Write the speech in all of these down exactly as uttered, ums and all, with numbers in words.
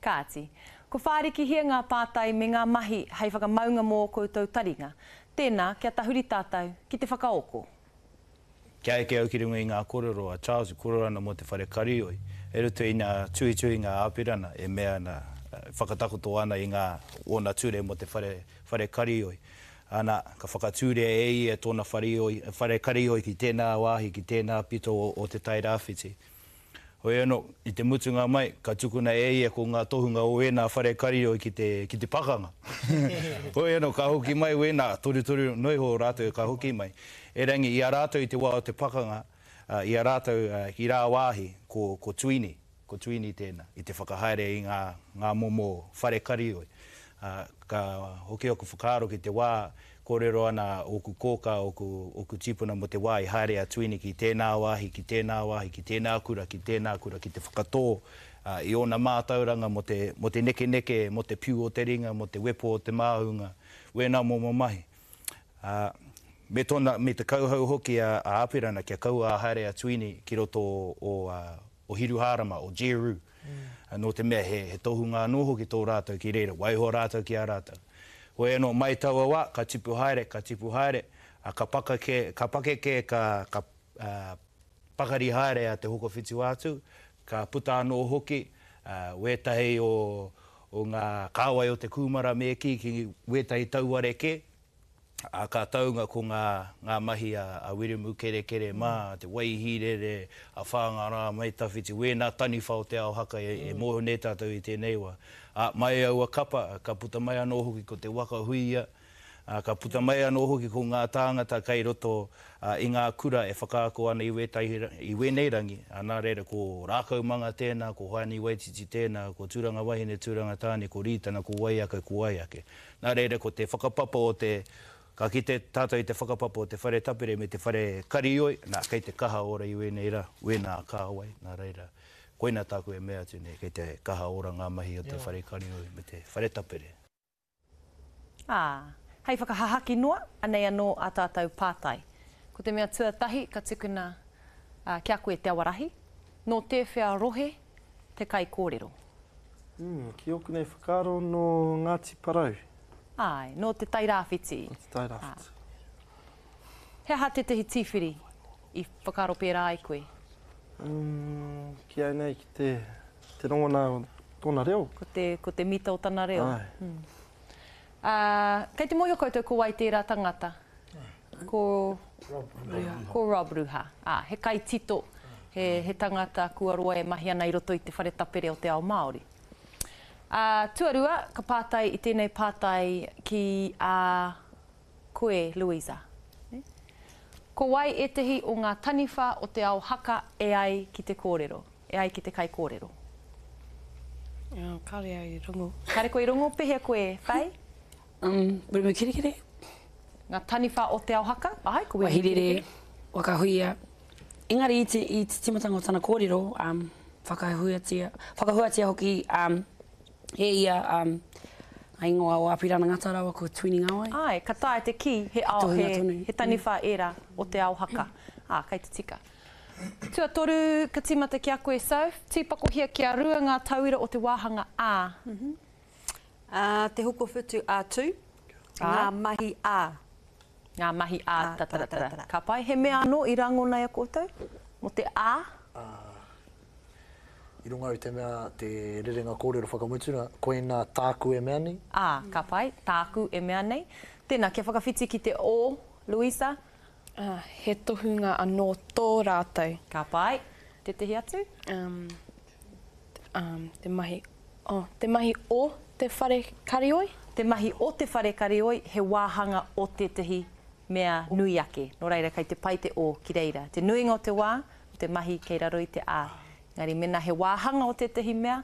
Kāti, ko whārikihia ngā pātai me ngā mahi hei whakamaunga mō ō koutou taringa. Tēnā, kia tahuri tātou ki te whakaoko. Kia eke au ki runga i ngā kōrero a Charles e kōrero ana mō te whare karioi, i roto i ngā tuhituhinga a Apirana e mea ana, e whakatakoto ana i ngā ōna ture mō te whare, whare karioi. Ana, ka whakatūria e ia tōna whare, whare karioi ki tēnā wāhi, ki tēnā pito o, o Te Tai Rāwhiti. Hoi anō, i te mutunga mai, ka tukuna e ia ko ngā tohunga o ēnā whare karioi ki te, ki te pakanga. Hoi anō, ka hoki mai wēnā, torutoru noa iho rātou ka hoki mai. Erangi, i a rātou i te wā o te pakanga, i a rātou ki rāwāhi, ko, ko Tuini, ko Tuini tēnā, i te whakahaere i ngā, ngā momo whare karioi. Ā, ka hoki aku whakaaro ki te wā, kōrero ana ōku kōkā, ōku, ōku tīpuna mō te wā i haere a Tuini ki tēnā wāhi, ki tēnā wāhi, ki tēnā kura, ki tēnā kura, ki te whakatō i ōna mātauranga mō te, mō te nekeneke, mō te piu o te ringa, mō te wepo o te māhunga, wēnā momo mahi. Ā, me tōna, me te kauhau hoki a, a Apirana kia kaua a haere a Tuini ki roto o, o, o Hiruhārama, o Jeru, nō te mea he, he tohunga anō hoki tō rātou ki reira, waiho rātou ki a rātou. Hoi anō, mai taua wā, ka tipu haere, ka tipu haere, ā, ka pakeke, ka pakeke, ka, ka, ā, pakari haere a Te Hokowhitu-a-Tū, ka puta anō hoki, ā, wētahi o, o ngā kāwai o te kūmara me kī ki wētahi tauare kē, ā, ka taunga ko ngā, ngā mahi a, a Wiremu Kerekere mā, a Te Waihīrere, a Whāngārā Mai Tawhiti, wēnā taniwha o te ao haka e, e mōhio nei tātou i tēnei wā. Ā, mai aua kapa, ka puta mai anō hoki ko te waka huia, ā, ka puta mai anō hoki ko ngā tāngata kei roto i ngā kura e whakaako ana i wētahi, i wēnei rangi, ā, nā reira ko Rākaumanga tēnā, ko Hoani Waititi tēnā, ko Tūranga Wahine, Tūranga Tāne, ko Rītana, ko wai ake, ko wai ake. Nā reira ko te whakapapa o te, ka kite tātou i te whakapapa o te whare tapere me te whare karioi, nā, kei te kaha ora i wēnei rā, wēnā kāwai, nā reira, Koina tāku e mea atu nei, kei te kaha ora ngā mahi o te whare karioi me te whare tapere. Ā, hei whakahahaki noa, anei anō ā tātou pātai. Ko te mea tuatahi ka tukuna ki a koe Te Awarahi, nō tēwhea rohe te kaikōrero? Mm, ki ōku nei whakaaro nō Ngāti Porou. Āe, nō Te Tairāwhiti. Nō Te Tairāwhiti. He aha tētahi tīwhiri i whakaaro pērā ai koe? Umm, ki au nei, ki te, te rongona o tōna reo. Ko te, ko te mita o tana reo. Āe. Mm. Ā, kei te mōhio koutou ko wai tērā tangata? Ko Rob Ruha. Ko Rob Ruha. Ā, he kaitito, he, he tangata kua roa e mahi ana i roto i te whare tapere o te ao Māori. Ā, tuarua, ka pātai i tēnei pātai ki a koe, Louisa. Ko wai ētehi o ngā taniwha o te ao haka e ai ki te kōrero, e ai ki te kaikōrero? Kāore au i rongo. Kāore koe i rongo? Pehea koe, Faye? Um, Wiremu Kerekere. Ngā taniwha o te ao haka? Āe, ko Wiremu Kerekere. Wahirere, Wakahuia. Engari i te, i te tīmatanga o tana kōrero, um, whakahuatia, whakahuatia hoki, um, E ia, um, ngā ingoa o Apirana Ngata rawa ko Tuini Ngawai. Āe, ka taea te kī he ao, he, he taniwha ērā o te ao haka. Ā, kei te tika. Tuatoru, ka tīmata ki a koe, Soph, tīpakohia kia rua ngā tauira o te wāhanga A. Ā, te hokowhitu a Tū, ngā mahi a. Ngā mahi a, tataratara. Ka pai. He mea anō i rangona e a koutou mō te A? Ā, i runga i te mea, te rerenga kōrero whakamutunga, koinā tāku e mea nei. Ā, ka pai, tāku e mea nei. Tēnā, kia whakawhiti ki te O, Louisa. Ā, he tohunga anō tō rātou. Ka pai. Tētehi atu? Um, um, te mahi, oh, te mahi o te whare karioi? Te mahi o te whare karioi, he wāhanga o tētehi mea nui ake. Nō reira, kei te pai te o ki reira. Te nuinga o te wā, ko te mahi kei raro i te a. Engari mēnā he wāhanga o tētehi mea,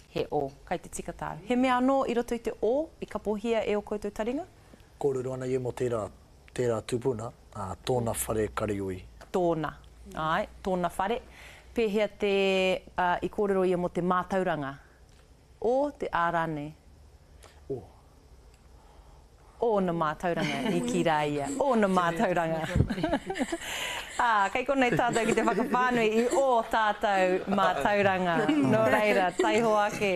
he o. Kai te tika tāu. He mea anō i roto i te o i kapohia e ō koutou taringa? Kōrero ana ia mō tērā, tērā tupuna, ā, tōna whare karioi. Tōna. Āe, tōna whare. Pēhea te, ā, i kōrero ia mō te mātauranga? O, te a rānei? O. Ōna mātauranga, i kī rā ia. Ōna mātauranga. Ā, kei konei tātou ki te whakawhānui i ō tātou mātauranga. Nō reira, taihoa ake.